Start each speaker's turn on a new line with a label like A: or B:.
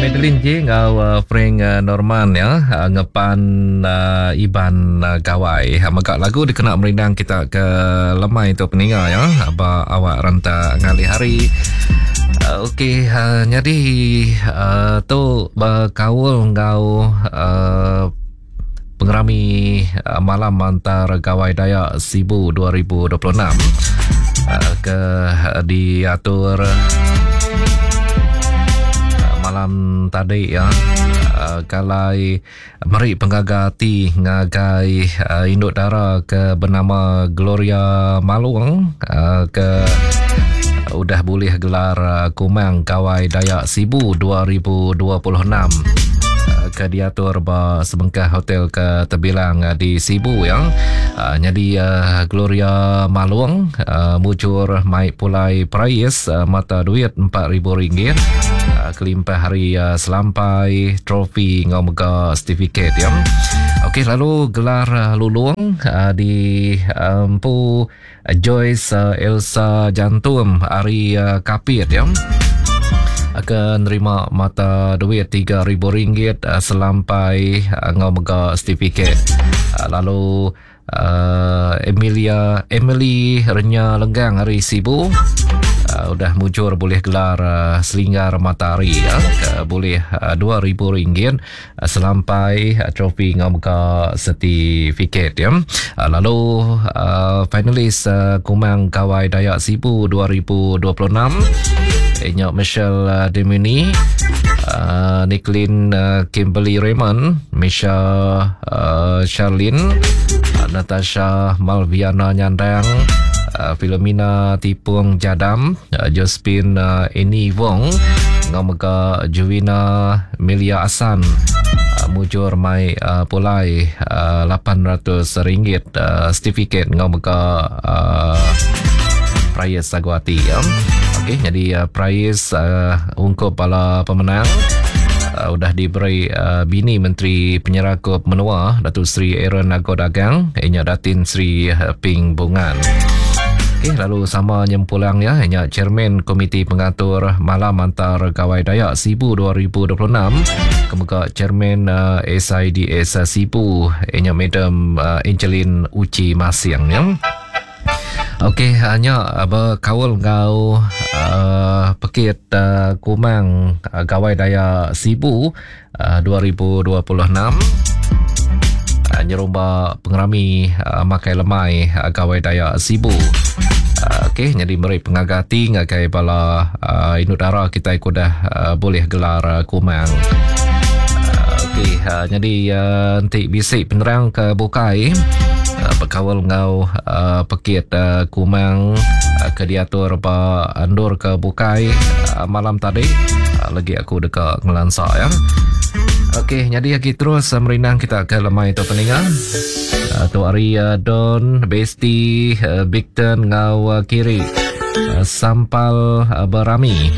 A: Madeline J enggau Frank Norman ya ngepan Iban Gawai. Mega lagu dikena merindang kita ke lemai tu peninga ya ba awak rentak ngalih hari. Okey nyadi tu bekaul enggau Pengerami Malam Antar Gawai Dayak Sibu 2026 ke diatur malam tadi ya kalai meri pengaga ati ngagai indu dara ke bernama Gloria Malung ke udah bulih gelar Kumang Gawai Dayak Sibu 2026 ke diatur ba sebengkah hotel ke terbilang di Sibu ya. Nyadi Gloria Malung mujur mai pulai perais mata duit RM4,000 kelimpah hari selampai trofi enggau mega sertifikat ya. Okey lalu gelar lulung di empu Joyce Elsa Jantum ari Kapit ya ke nerima mata duit RM3,000 selampai enggau mega sertifikat. Lalu Emilia Emily Renya Lenggang ari Sibu udah mujur bulih gelar Selinggar Matahari ya ke bulih RM2,000 Selampai trofi enggau mega sertifikat ya. Lalu finalis Kumang Gawai Dayak Sibu 2026 inya Michelle Demini, Nicklin Kimberly Raymond, Misha Charlene, Natasha Malviana Nyandang, Philomena Tipung Jadam, Josephine Annie Wong enggau mega Juvina Milia Asan mujur mai pulai RM800 sertifikat enggau mega prize sagu ati. Okey, jadi prize ungkup bala pemenang udah diberi bini Menteri Penyerakup Menua Datuk Seri Aaron Ago Dagang inya Datin Seri Ping Bungan. Okey, lalu sama nyempulang ya inya Chairman Komiti Pengatur Malam Antar Gawai Dayak Sibu 2026 ke mega Chairman SIDS Sibu inya Madam Angeline Uchi Masing ya. Okey, nya bekaul enggau uh, pekit uh, Kumang uh, Gawai Dayak Sibu uh, 2026 uh, nyerumba pengerami uh, makai lemai uh, Gawai Dayak Sibu. Uh, Okey, jadi meri pengaga ati ngagai bala uh, indu dara kita ke udah uh, boleh gelar uh, Kumang. Uh, Okey, uh, jadi uh, enti bisi penerang ke bukai uh, bekaul enggau uh, pekit uh, Kumang uh, ke diatur ba endur ke bukai uh, malam tadi uh, lagi aku deka ngelansa ya. Okey, jadi lagi terus uh, merindang kita ke lemai tu peninga. Uh, tu hari uh, Don, Besti, uh, Bigton ngau uh, Kiri. Uh, sampal uh, berami.